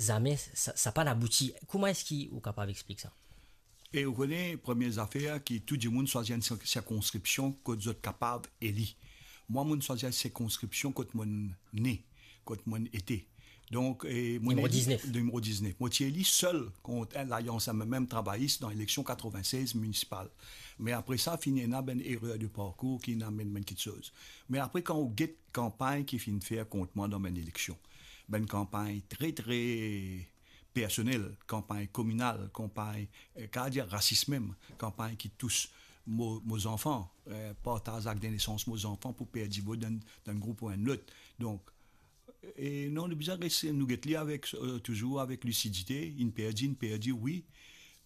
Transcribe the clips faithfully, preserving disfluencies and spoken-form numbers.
zame sa, sa pa'nn abouti. Kouma eski ou kapav explik sa? E ou kone, premie zafer ki tou dimoun swazir enn sir-, sirkonskripsion kot zot kapav eli. Mwa, mo'nn swazir sirkonskripsion kot mo'nn ne, kot mo'nn ete. Donk, e, mo'nn Nimero eli diznef. Nimero diznef. Mo ti eli sel kont enn lalians M M M trabayis dan eleksion katreven-sez minisipal. Me apre sa, finn ena bann erer de parkour ki inn amenn bann kiksoz. Me apre, kan ou get kanpagn ki finn fer kont mwa dan bann eleksion, bann kanpagn tre, tre personel, kanpagn kominal, kanpagn, eh, kapav dir rasis mem, kanpagn ki tous mo, mo zanfan, eh, partaz akt de nesans mo zanfan pou perdi vot dan, dan group ou enn lot. Donk, e non, nou bizin res, nou get li avek, eh, touzour avek lisidite, inn perdi, inn perdi, wi,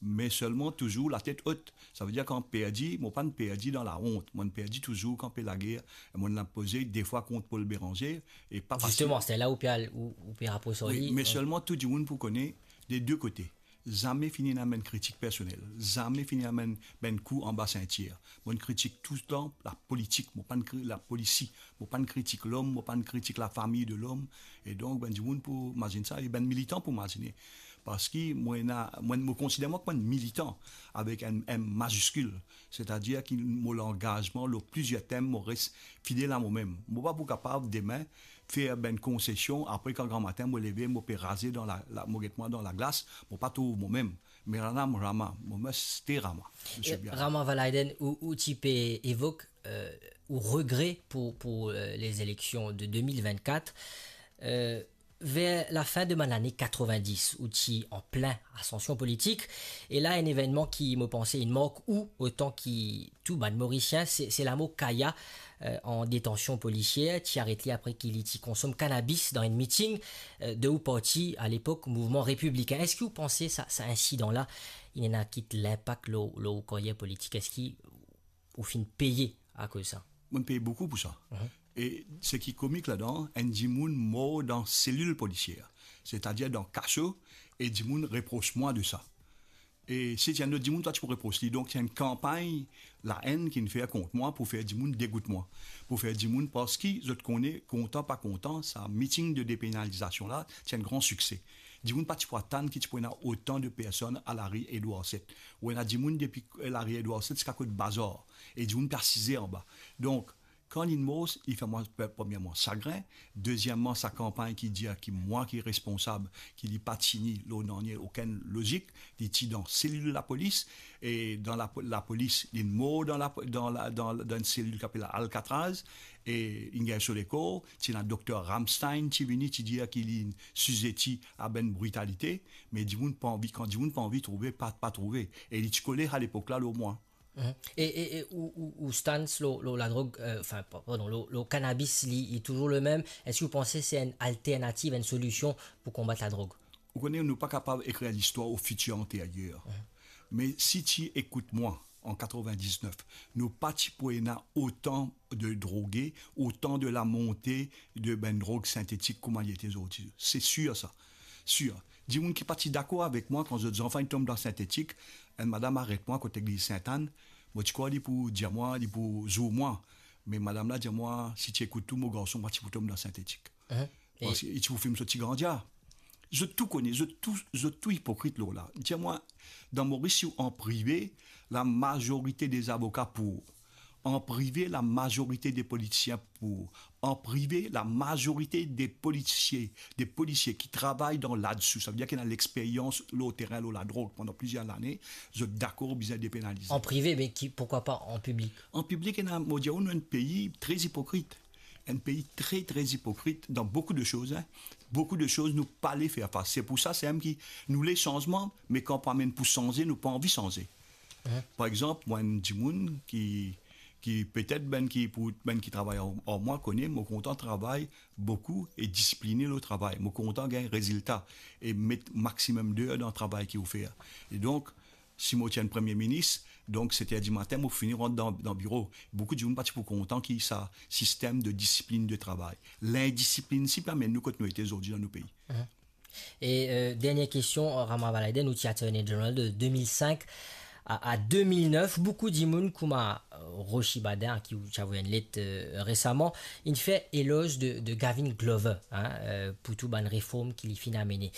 me selman touzour latet ot. Savedir kan perdi, mo pa'nn perdi dan laont, mo'nn perdi touzour kan pe lager, e mo'nn al poze de fwa kont Paul Bérenger, e pa fasil. Zisteman, se la ou pe al, ou, ou pe rapros ar Wi, li, me donk selman tou dimoun pou kone, de de kote. Zame finn ena bann kritik personel, zame finn ena bann, bann kou anba sintir. Mo'nn kritik touletan lapolitik, mo pa'nn kri-, lapolisi, mo pa'nn kritik lom, mo pa'nn kritik lafami de lom. E donk, bann dimoun pou mazinn sa, e bann militan pou mazine. Parski mo ena, mo, mo konsider mwa kouma enn militan avek enn M maziskil. Setadir ki mo langazman lor plizier tem, mo res fidel a momem. Mo pa pou kapav demin fer bann konsesion, apre kan gramatin mo leve, mo pe raze dan la, la, mo get mwa dan laglas, mo pa trouv momem. Me Rama, Rama, mo meste Rama. Msye E, Biala. Rama Valaiden, ou, ou ti pe evok, eh, ou regre pou, pou, eh, les élections de deux mille vingt-quatre. Eh, ver lafin de bann lane katreven-dis, ou ti an plin asansion politik, e la enn evennman ki, mo panse, inn mark ou otan ki tou bann Morisien, se, se lamor Kaya, eh, an detansion polisier, ti aret li apre ki li ti konsom kanabis dan enn miting, eh, de ou parti alepok Mouvman Repiblikin. Eski ou panse sa, sa insidan la, inn ena kit linpak lor, lor ou karyer politik? Eski ou finn peye akoz sa? Mo'nn peye boukou pou sa. Mhm. E seki komik ladan, enn dimoun mor dan selil polisier, setadir dan kaso, e dimoun repros mwa de sa. E si ti enn lot dimoun, twa ti pou repros li. Donk, ti enn kanpagn laenn ki'nn fer kont mwa pou fer dimoun degout mwa. Pou fer dimoun, parski zot kone, kontan pa kontan, sa miting de depenalizasion la, ti enn gran sikse. Dimoun pa ti pou atann ki ti pou ena otan de personn a lari Edward set. Ou ena dimoun depi, eh, lari Edward set ziska kot Bazar. E dimoun pe asize anba. Donk, kan linn mor, li fer mwa, pre-, premierman, sagrin. Dezieman, sa kanpagn ki dir ki mwa ki responsab, ki li pa tini lor nanye okenn lozik. Li ti dan selil lapolis, e dan lapo-, lapolis, linn mor dan la, dan la, dan, dan enn selil ki apel Alcatraz, e inn gagn so lekor. Ti ena dokter Ramstein, ti vini, ti dir ki li sizeti a bann britalite, me dimoun pa anvi, kan dimoun pa anvi trouve, pa, pa trouve. E li ti kole alepok la lor mwa. Mhm. E, e, e ou, ou, ou stans lor, lor ladrog, eh, anfin, pa-, pardon, lor, lor kanabis, li, li touzour lemem? Eski ou panse se enn alternativ, enn solision pou konbat ladrog? Ou kone, nou pa kapav ekrir listwar o fitir anteryer. Mhm. Me si ti ekout mwa, an katreven-diznef, nou pa ti pou ena otan de droge, otan de lamonte de bann drog sintetik kouma li ete zordi. Se sir sa. Sir. Dimoun ki pa ti dakor avek mwa, kan zot zanfan inn tom dan sintetik, enn madam aret mwa kot legliz Sint-Ann, mo ti krwar li pou dir mwa, li pou zour mwa. Me madam la dir mwa, si ti ekout tou, mo garson pa ti pou tom dan sintetik. Mhm. E Parski li ti pou fim so ti grandia. Zot tou kone, zot tou, zot tou ipokrit lor la. Dir mwa, dan Moris, si ou an prive, lamazorite de zavoka pou ou. An prive, lamazorite de politisien pou ou. An prive, lamazorite de politisien, de polisie ki travay dan ladsou, savedir ki ena lexperyans lor terin, lor ladrog pandan plizier lane, zot dakor bizin depenalize. An prive, me ki, pourquoi pas en public? An piblik, ena, mo dir ou, nou enn pei tre ipokrit. Enn pei tre, tre ipokrit dan boukou de soz, hein. Boukou de soz nou pa le fer fas. Se pou sa, se mem ki nou le sanzman, me kan pou amenn pou sanze, nou pa anvi sanze. Mhm. Par exanp, mwa, enn dimoun ki, ki petet bann ki, pou bann ki travay ar, ar mwa, kone, mo kontan travay boukou e disipline lor travay. Mo kontan gagn rezilta e met maximum d'heures dan travay ki ou fer. E donk, si mo ti enn premie minis, donk, set er dimatin, mo fini rant dan, dan biro. Boukou dimoun pa ti pou kontan ki sa sistem de disiplin de travay. Lindisiplin si pe amenn nou kot nou ete zordi dan nou pei. Mhm. E, eh, dernie kestion, Rama Valaiden, ou ti Attorney General de de mil sink a, a de mil nef. Boukou dimoun, kouma, eh, Rochi Badin, a ki ou ti avoy enn let, eh, resaman, inn fer eloz de, de Gavin Glover, hein, eh, pou tou bann reform ki li finn amene.